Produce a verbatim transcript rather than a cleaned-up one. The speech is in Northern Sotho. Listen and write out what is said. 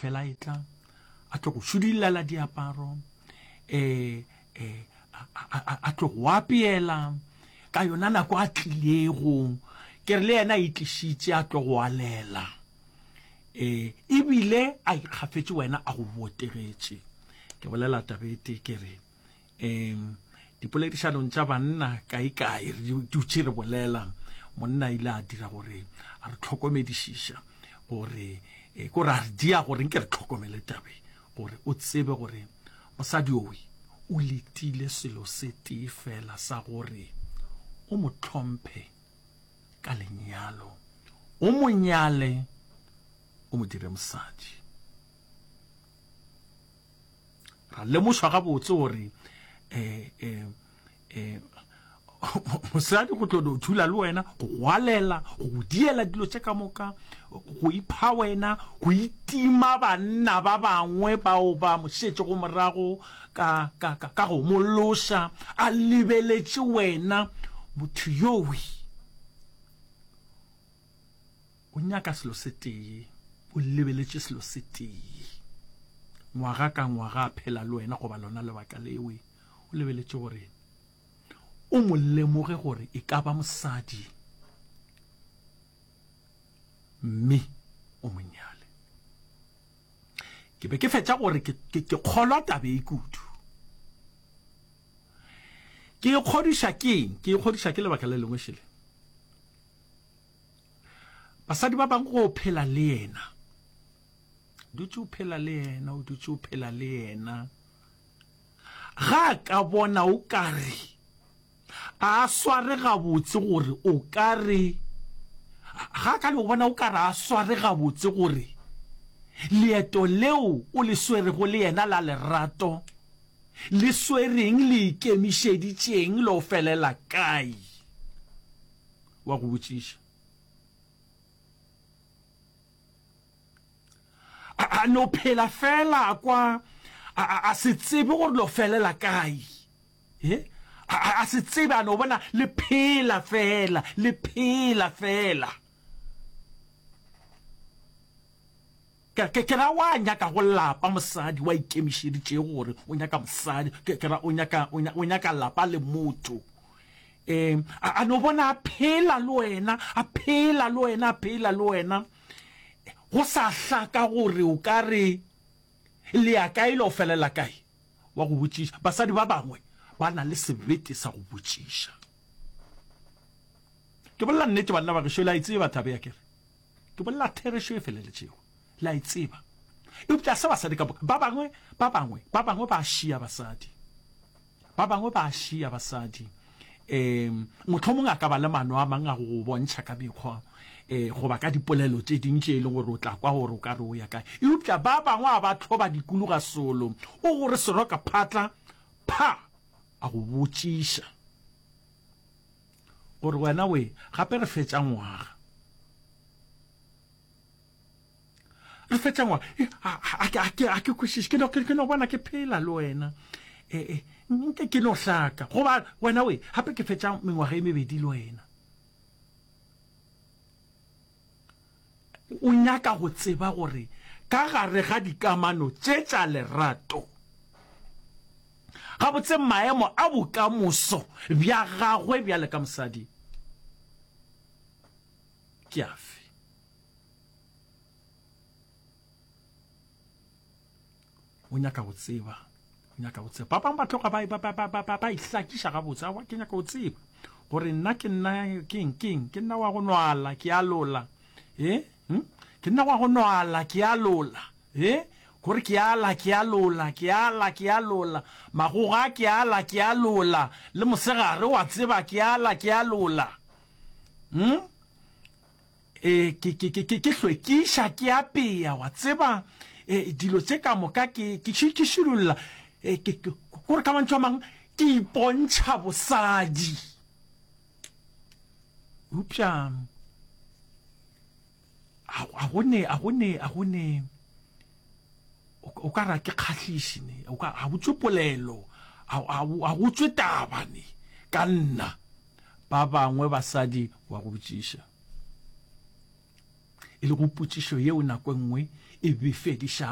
fela e tla a tlo go šudilela diaparo um a tlo go apeela ka yona nako a tlilego ke re le yena a itlišitše a tlo go alela um ebile a ikgafetše wena a go botegetše ke bolela tabete ke re um dipoledišanong tša banna kae-kae re dutše re bolela monna ile a dira gore a re tlhokomedišiša gore eh, ko re a re dia gore nke re tlhokomele tabe gore o tsebe gore mosadi owe o letile selo se tee fela sa gore o mo hlomphe ka lenyalo o mo nyale o mo dire mosadi ra lemošwa gabotse gore um um um mosadi go tlo no dula le wena go gwalela go go diela dilo tše ka moka go ipha wena go itima banna ba bangwe bao ba mo šetšego morago ka, ka, ka, ka go mo loša a lebeletše wena motho yowe o nyaka selo se tee o lebeletše selo se tee ngwaga ka ngwaga a phela le wena goba lona lebaka lewe o lebeletše gore o mo lemoge gore e ka ba mosadi mme o mo nyale ke be ke fetša gore ke, ke, ke kgolwa tabe e kudu ke ikgodiša keng ke ikgodiša ke lebaka le lengwe šele basadi ba bangwe go phela le yena dutše o phela le yena o dutše o phela le yena ga a ka bona o ka re a sware gabotse gore o ka re ga ka le go bona o ka re a sware gabotse gore leeto leo o le swerego le yena la lerato le swereng le ikemišeditšeng lo felela kae wa go botšiša a no phela fela kwa a a se tsebe gore lo felela kae e a a se tsebe a no bona le phela fela le phela fela ke ke ke ra wa nyaka go lapa mosadi wa ikemišeditšego gore o nyaka mosadi ke ke ra o nyaka o nya- o nyaka lapa le motho um a a no bona a phela le wena a phela le wena a phela le wena go sa hlaka gore o ka re le ya kae le o felela kae wa go botšiša basadi ba bangwe ba na le sebete sa go botšiša ke bolela nnete banna ba gešo le a e tseba thabe ya kere ke bolela therešo e feleletšego le a e tseba eupša se basadi ka moka ba bangwe ba bangwe ba bangwe ba šia basadi ba bangwe ba šia basadi um mohlomong a ka ba le mano a mang a go go bontšha ka mekgwa um goba ka dipolelo tše ding tše e leng gore o tla kwa gore o ka re o ya kae eupša ba bangwe a ba tlhoba dikuluga solo o gore seroka phatla pha a go botšiša gore wena we gape re fetša ngwaga re fetša ngwaga Eh, a- a a- ke a ke kwešiše ke no ke ke no bona ke phela le wena eh eh nke ke no hlaka goba wena we gape ke fetša mengwaga e mebedi le wena o nyaka go tseba gore ka gare ga dikamano tše tša lerato gabotse maemo a bokamoso bja gagwe bjale ka mosadi ke afe o nyaka go tseba o nyaka go tseba ba bangwe ba tloga ba ba ba ba ba ba ihlakiša gabotse aowa ke nyaka go tseba gore nna ke nna keng keng ke nna wa go nwala ke a lola e hm? ke nna wa go nwala ke a lola e gore ke ala ke a lola ke ala ke a lola magoga ke ala ke a lola le mosegare wa tseba ke ala ke a lola hm? E, ke, ke, ke, ke, ke hlwekiša, ke apea, wa tseba, e, dilo tše ka moka ke, ke, ke, ke širolla, e, ke, ke, kore ka mantšu a mang, ke ipontšha bosadi. Eupša, a, a go ne, a go ne, a go ne, o, o ka ra ke kgahliše ne, o ka, a go tšwe polelo, a, a, a go tšwe taba ne, ka nna. Ba bangwe basadi wa go botšiša, e lego potšišo yeo nako e nngwe e befedišago.